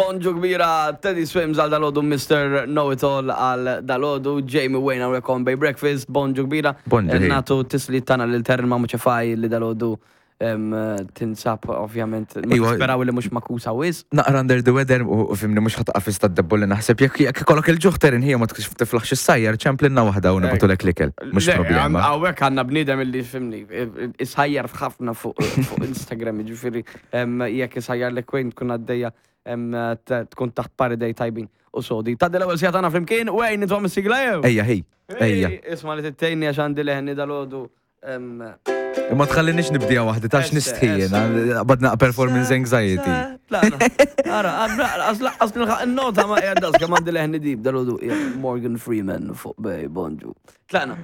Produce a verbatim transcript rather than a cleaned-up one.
Bonġu kbira, Teddy Swims għal dalgħodu, Mister Know It All għal dalgħodu, Jamie Wayne għal on Bay Breakfast, bonġu kbira. Bonġu, hey. Nagħtu tislijiet tagħna lil Terren Mamu Ċefaj li dalgħodu em, tinsab ovvjament, ma Iwa. nisperaw li mhux makusa wisq. Naqra under the weather u u fimni mhux ħa taqaf id-debbo li naħseb jekk jekk ikollok il-ġuħ, Terin ħija, ma tkunx tiflaħx issajjar, ċemplinna waħda u nibagħtulek l-ikel. Mhux Le, problema. Hawnhekk għandna bniedem illi, fimni, isajjar ħafna fuq fuq Instagram, ġifieri jekk isajjar l Wayne tkun għaddejja em, t- tkun taħt paridej tajbin u sodi. Taddi l-ewwel siegħa tagħna flimkien, Wayne, nitfgħu s-sigla jew? Ejja, ħej, ejja. Isma' li tittejni għax għandi leħni dalgħodu. em, Imma tħallinix nibdija waħdi, tax Esse, nistħi jiena, badna performance anxiety. Tlaqna. Ara, għas nilħaq il-nota ma qiegħda kemm għandi leħni deep dalgħodu. Morgan Freeman fuq Bay, bonġu. Tlaqna.